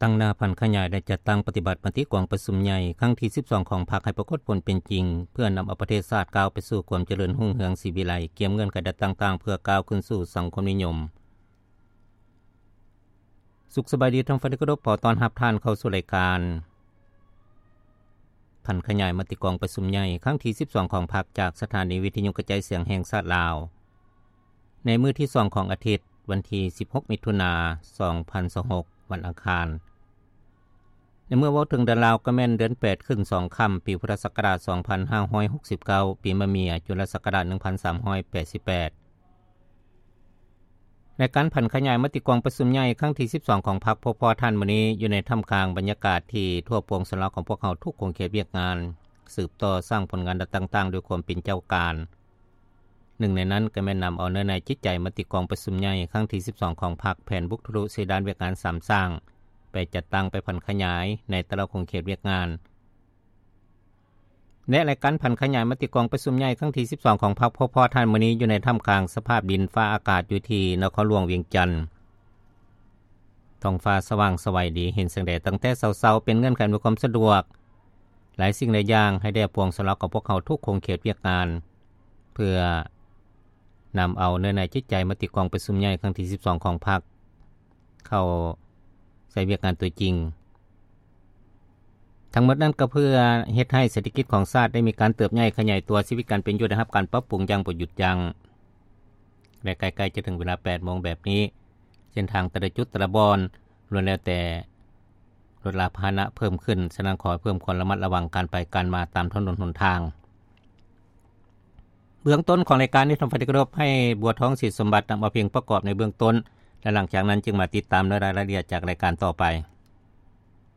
ຕັ້ງໜ້າຜັນຂະຫຍາຍ ແລະ ຈັດຕັ້ງປະຕິບັດມະຕິກອງປະຊຸມໃຫຍ່ຄັ້ງທີສິບສອງຂອງພັກ ໃຫ້ປາກົດຜົນເປັນຈິງ ເພື່ອນຳເອົາປະເທດຊາດກ້າວໄປສູ່ຄວາມຈະເລີນຮຸ່ງເຮືອງສີວິໄລ ກຽມເງື່ອນໄຂດັດຕ່າງໆ ເພື່ອກ້າວຂຶ້ນສູ່ສັງຄົມນິຍົມ. ສຸກສະບາຍດີທ່ານຜູ້ຟັງທີ່ເຄົາລົບ, ຂໍຕ້ອນຮັບທ່ານເຂົ້າສູ່ລາຍການຜັນຂະຫຍາຍມະຕິກອງປະຊຸມໃຫຍ່ຄັ້ງທີສິບສອງຂອງພັກ ຈາກສະຖານີວິທະຍຸກະຈາຍສຽງແຫ່ງຊາດລາວ ໃນມື້ທີສອງຂອງອາທິດ ວັນທີສິບຫົກ ມິຖຸນາ ສອງພັນຊາວຫົກ ວັນອັງຄານ. ໃນເມື່ອເວົ້າເຖິງເດືອນລາວ ກໍແມ່ນເດືອນແປດຂຶ້ນສອງຄ່ຳ ປີພຸດທະສັກກະລາດສອງພັນຫ້າຮ້ອຍຫົກສິບເກົ້າ ປີມະເມຍ ຈຸລະສັກກະລາດໜຶ່ງພັນສາມຮ້ອຍແປດສິບແປດ. ໃນການຜັນຂະຫຍາຍມະຕິກອງປະຊຸມໃຫຍ່ຄັ້ງທີສິບສອງຂອງພັກ ພົບພໍ້ທ່ານມື້ນີ້ ຢູ່ໃນທ່າມກາງບັນຍາກາດທີ່ທົ່ວປວງຊົນລາວຂອງພວກເຮົາທຸກຂົງເຂດວຽກງານ ສືບຕໍ່ສ້າງຜົນງານດ້ານຕ່າງໆ ດ້ວຍຄວາມເປັນເຈົ້າການ. ໜຶ່ງໃນນັ້ນກໍແມ່ນນຳເອົາເນື້ອໃນຈິດໃຈມະຕິກອງປະຊຸມໃຫຍ່ຄັ້ງທີສິບສອງຂອງພັກ ແຜນບຸກທະລຸເສດານວຽກງານສາມສ້າງ ໄປຈັດຕັ້ງໄປຜັນຂະຫຍາຍໃນແຕ່ລະຂົງເຂດວຽກງານ. ແລະ ລາຍການຜັນຂະຫຍາຍມະຕິກອງປະຊຸມໃຫຍ່ຄັ້ງທີສິບສອງຂອງພັກ ພົບພໍ້ທ່ານມື້ນີ້ ຢູ່ໃນທ່າມກາງສະພາບດິນຟ້າອາກາດຢູ່ທີ່ນະຄອນຫຼວງວຽງຈັນ. ທ້ອງຟ້າສະຫວ່າງສະໄຫວດີ ເຫັນແສງແດດຕັ້ງແຕ່ເຊົ້າໆ ເປັນເງື່ອນໄຂອຳນວຍຄວາມສະດວກຫຼາຍສິ່ງຫຼາຍຢ່າງ ໃຫ້ແກ່ປວງຊົນລາວຂອງພວກເຮົາທຸກຂົງເຂດວຽກງານ ເພື່ອນຳເອົາເນື້ອໃນຈິດໃຈມະຕິກອງປະຊຸມໃຫຍ່ຄັ້ງທີສິບສອງຂອງພັກ ເຂົ້າໃສ່ວຽກງານຕົວຈິງ. ທັງໝົດນັ້ນກໍເພື່ອເຮັດໃຫ້ເສດຖະກິດຂອງຊາດໄດ້ມີການເຕີບໃຫຍ່ຂະຫຍາຍຕົວ, ຊີວິດການເປັນຢູ່ໄດ້ຮັບການປັບປຸງຢ່າງບໍ່ຢຸດຢັ້ງ ແລະ ໃກ້ໆຈະເຖິງເວລາແປດໂມງແບບນີ້ ເສັ້ນທາງແຕ່ລະຈຸດແຕ່ລະບ່ອນ ລ້ວນແລ້ວແຕ່ລົດລາພາຫະນະເພີ່ມຂຶ້ນ, ສະນັ້ນຂໍໃຫ້ເພີ່ມຄວາມລະມັດລະວັງການໄປການມາຕາມຖະໜົນຫົນທາງ. ເບື້ອງຕົ້ນຂອງລາຍການນີ້ ທ່ານຜູ້ຟັງທີ່ເຄົາລົບ, ໃຫ້ບົວທອງ ສີສົມບັດ ນຳເອົາເພງປະກອບໃນເບື້ອງຕົ້ນ ແລະ ຫຼັງຈາກນັ້ນຈຶ່ງມາຕິດຕາມໃນລາຍລະອຽດຈາກລາຍການຕໍ່ໄປ.